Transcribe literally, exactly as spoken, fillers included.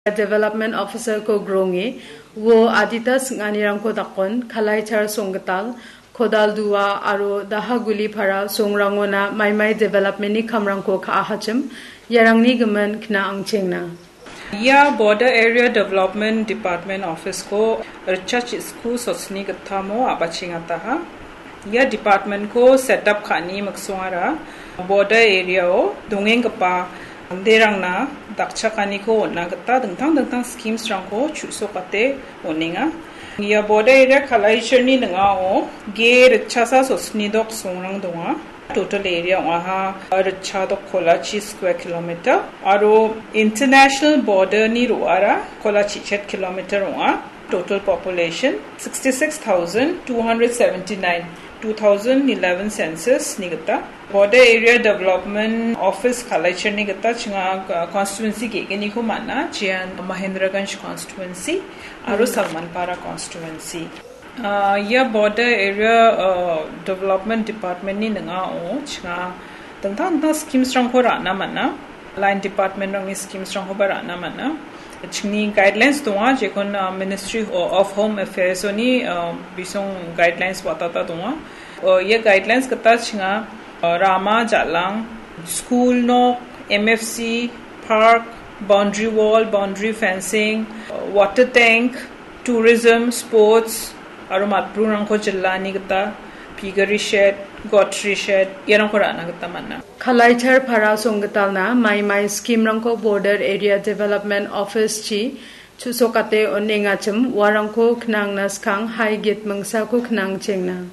Development Officer-ko gronge, uo adita sing·anirangko dakon, Kalaichar songgital, Kodaldua aro Dahagulipara songrangona maimai development-ni kamrangko ka·ahachim, iarangni gimin kna angchengna. Ia Border Area Development Department Office-ko ritchasku sotni gittamo a·bachengataha. Ia department-ko set up ka·ani miksongara border area-o dongenggipa manderangna dakchakaniko on·na gita dingtang dingtang schemes-rangko chu·sokate on·enga. Ia border area Kalaichar-ni ning·ao ge ritchasa sotni dok songrang donga. Total area ong·aha ritchadok kolachi square kilometer aro international border-ni ro·ara kolachi chet kilometer ong·a. Total population sixty-six thousand two hundred seventy-nine, two thousand eleven census-ni gita. Border Area Development Office Kalaichar-ni gita chinga, uh, constituency ge·gniko man·a, jean Mahendraganj constituency aro Salmanpara constituency. Ah, ia Border Area, ah, Development Department-ni ning·ao chinga dingtang dingtang schemes-rangko ra·na man·a. Line department-rangni schemes-rangkoba ra·na man·a. Chingni guidelines donga, jekon, ah, Ministry of Home Affairs-oni, ah, bisong guidelines watata donga. Ah, ia guidelines gita chinga, ah, rama, jal·ang, school nok, M F C, park, boundary wall, boundary fencing, ah, water tank, tourism, sports, aro matburingrangko jilani gita piggery shed, goatry shed, iarangko ra·na gita man·a. Kalaichar para songgitalna maimai scheme-rangko Border Area Development Office-chi chu·sokate on·engachim, uarangko knangna skang hai git mingsako knangchengna.